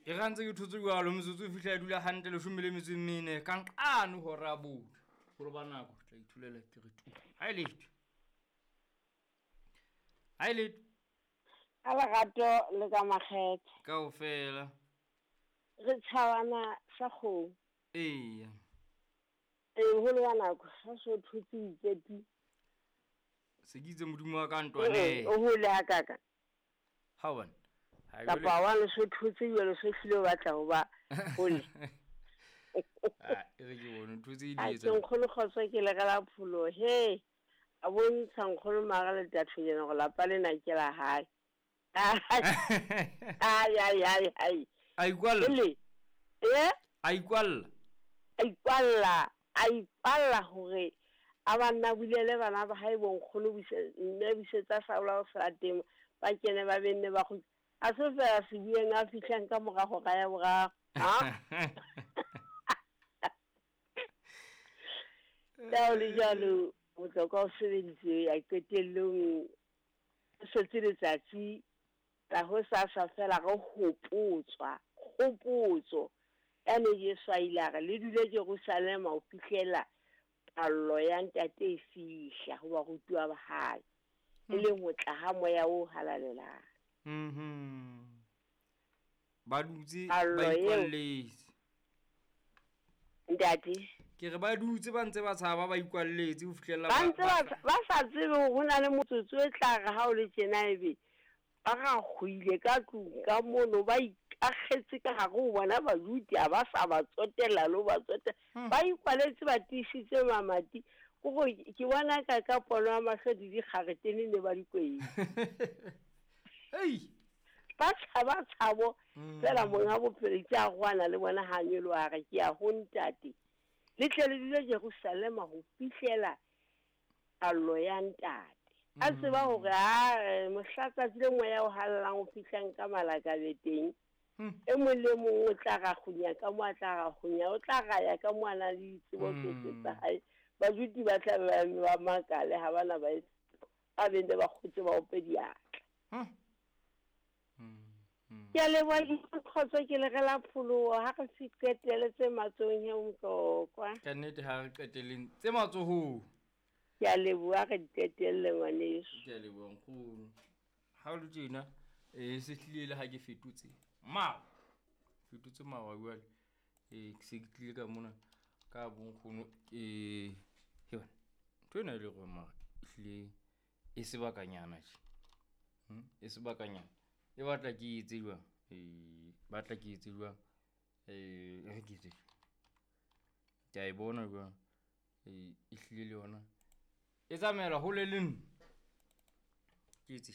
E ra ntse ke thotse jwalo metsotso e fihla e dula hantle 14 ka nqane hora ya bone. Holo ba nako tla ithulela ke re tu. Ha e letho. Ha e letho. Ka lerato le ka makgethe. Kaofela. Re tjhabana sa kgomo. Eya. Ee, holo wa nako ha so thotse itse tu. Se ke itse modimo wa ka ntwane. O hole ha kaka. Ha bona. Kapa wa le so thotse jwale so hlile o batla ho ba hole. Ah, e re ke bone ntho tse di A etsa. ke nkgono kgotso ke le la pholo he. A bontsha nkgono mara le tathonyana go lapa lena ke la hae. Ai ai ai ai. A ikwalla. Ele. Eh? A ikwalla. A ikwalla hore a banna bulele bana ba hae bo nkgono buse mme busetsa saola ho sa teng ba kene ba benne ba go a se fela se bueng a fihlang ka mora hora ya boraro. Ha? Tao le jwalo bohlokwa o sebeditse ya qetellong setse letsatsi la ho sasa fela re hopotswa kgopotso ya ne Jesu a ile a re le dule Jerusalema ho fihlela pallo ya ntate e fihla ho barutiwa ba hae, e leng ho tla ha moya o halalelang. Ba dutse ba ikwalletse. Ntate ke re ba dutse ba ntse ba tshaba ba ikwalletse ho fihlela ba ntse ba sa tsebe hore ho na le motsotso e tla re ha o le tjena ebe ba ra kgoile ka tlung ka mono ba ikakgetse ka hare ho bona bajuti ha ba sa ba tsotella le ho ba tsotella. Ba ikwaletse ba tiisitse mamati. Kore ke bona ka pono ya mahlo di dikgaretene ne ba di kwetse. Hei! Ba tshaba tshabo fela monga bophelo ke a rwana le bona ha nyoloha a re ke ya ho ntate. Le tle le dule Jerusalema ho fihlela allo ya ntate. A tseba hore a mohla tsatsi le moya o hallang o fihlang ka malakabe teng. E mong le mong o tla ra kgunya ka mo a tla ra kgunya, o tla ra ya ka mo a nang le ditsebo tsohle tsa hae. Bajuti ba tla be ba makale ha bana ba ba bende ba kgotse ba ope diatla. Ke a leboha kgotso ke le re la pholoho ha re se qetele tse matsohong he Motlokwa. Ka nnete ha re qeteleng tse matsohong. Ke a leboha re qetelle ngwaneso. Ke a leboha nkgono. Ha o le tjena se hlile le ha ke fetotse mawa. Fetotse mawa jwale. Ke se ke tlile ka mona ka bonkgono he bana. Ntho ena e le hore mara ehlile e sebakanyana tje. E sebakanyana. E batla ke etse jwang? Batla ke etse jwang? Re ke etse. Ke a e bona jwang? E hlile le yona. E tsamaela hole le nna. Ke etse.